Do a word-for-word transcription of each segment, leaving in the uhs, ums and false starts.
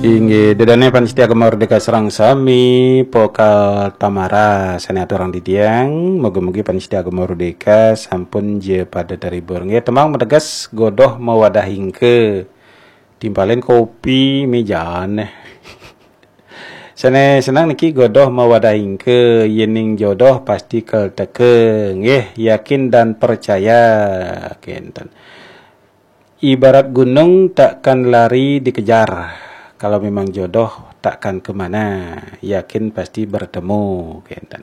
Inggih, ida dané pamiarsa Gema Merdeka sareng sami, pokal Tamara sané aturang titiang, mugi-mugi pamiarsa Gema Merdeka sampun ja pada terhibur. Nggih, tembang mateges godoh mawadah ingka. Timpalin kopi méjané. Sané seneng niki godoh mawadah ingka, yéning jodoh pasti kel teka. Nggih, yakin dan percaya. Kénten. Ibarat gunung takkan lari dikejar. Kalau memang jodoh takkan kemana, yakin pasti bertemu. Kénten.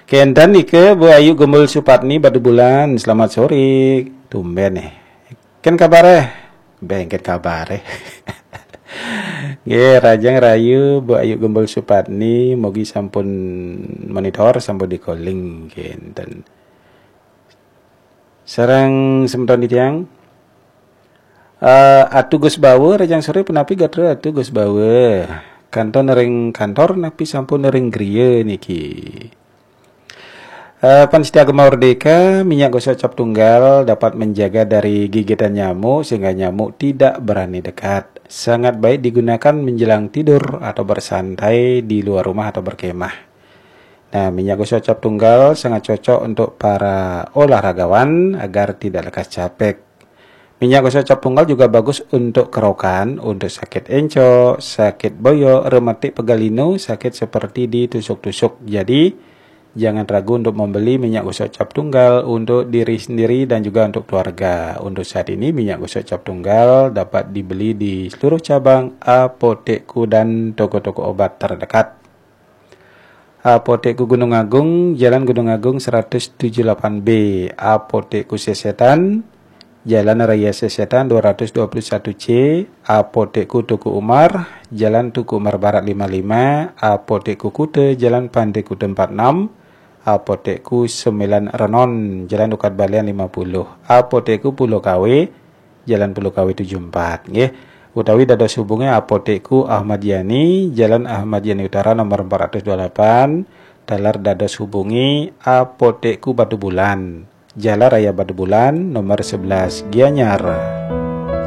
Kénten nika Bu Ayu Gembul Supatni Batubulan. Selamat sore. Tumben nih. Kén kabaré? Béh, kén kabaré. Nggih, rahajeng rahayu Bu Ayu Gembul Supatni, mugi sampun monitor, sampun di-calling kénten. Sareng semeton titiang. Eh, Atu Gus Bawa, rahajeng sore, punapi gatra Atu Gus Bawa? Kantun ring kantor napi sampun ring griya niki? Eh, pamiarsa Gema Merdeka, minyak gosok cap tunggal dapat menjaga dari gigitan nyamuk sehingga nyamuk tidak berani dekat. Sangat baik digunakan menjelang tidur atau bersantai di luar rumah atau berkemah. Nah, minyak gosok cap tunggal sangat cocok untuk para olahragawan agar tidak lekas capek. Minyak gosok cap tunggal juga bagus untuk kerokan, untuk sakit encok, sakit boyok, rematik pegal linu, sakit seperti ditusuk-tusuk. Jadi, jangan ragu untuk membeli minyak gosok cap tunggal untuk diri sendiri dan juga untuk keluarga. Untuk saat ini, minyak gosok cap tunggal dapat dibeli di seluruh cabang Apotekku dan toko-toko obat terdekat. Apotekku Gunung Agung, Jalan Gunung Agung seratus tujuh delapan B. Apotekku Sesetan, Jalan Raya Sesetan dua ratus dua puluh satu C. Apotekku Teuku Umar, Jalan Teuku Umar Barat lima lima. Apotekku Kuta, Jalan Pantai Kuta empat enam. Apotekku Sembilan Renon, Jalan Ukat Balian lima puluh. Apotekku Pulau Kawe, Jalan Pulau Kawe tujuh empat, nggih. Utawi dados hubungi Apotekku Ahmad Yani, Jalan Ahmad Yani Utara nomor empat ratus dua puluh delapan, taler dados hubungi Apotekku Batubulan, Jalan Raya Batubulan nomor sebelas, Gianyar.